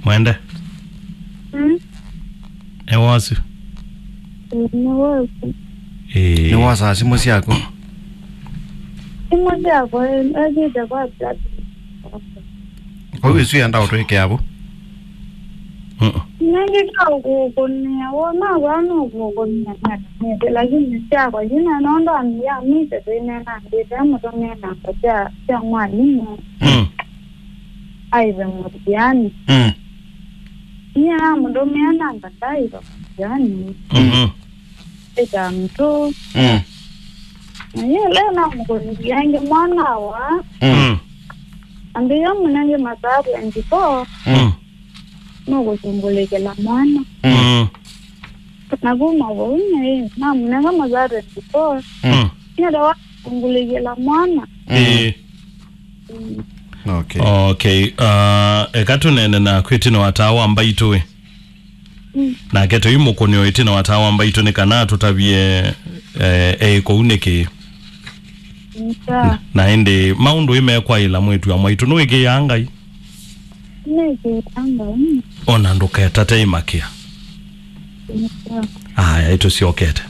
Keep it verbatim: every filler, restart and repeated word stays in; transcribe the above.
Mwende. Mm. Nĩ wosu. Ĩĩ, nĩ wosu. Ĩĩ. Nĩ wosaa simũ syaku? Simũ syakwa, ĩ-, ĩthĩte kwa blood. Kwa hiyo isu yenda ũtwĩkĩa vu? Mm-mm. Nĩngĩka ũkũkũnĩa, wona vaa nũkũkũnĩa, lakini syakwa yina nondu amia mite twĩnena ndĩte mũtũmĩa namba sya, sya mwalimũ. Mm. Aive mũthiani. Mm. Nyie namũtũmĩa namba ndaiva mũthiani. Mhm. Ĩta mtu. Mm. Na yĩla namũkũnĩthya ĩngĩ mwana wa. Mm. Ambĩĩa mũnenge masaa twenty-four. Mm. Nũkũsũngũlĩkĩla mwana. Mm. Na kuma vau nyie namũnenga masaa twenty-four. Mm. Nĩenda wasũngũlĩkĩla mwana. Mm. Ĩĩ. Mm. Okay. Okay. Uh, eka tũneene naku ĩtina wa taa wa mbaitũ ĩ. Mm. Nake tũimũkũnĩo ĩtina wa taa wa mbaitũ nĩ kana atũtavye, eh, e kũu nĩkĩ. Nĩ sawa. Na, na ĩndĩ maũndũ ĩmekwaĩla mwĩtu wa mwaitũ nũĩkĩĩaa Ngai? Nĩkĩĩaa Ngai. Ona ndũketate ĩmakĩa. Nĩ sawa. Aya, ĩtũsyokete.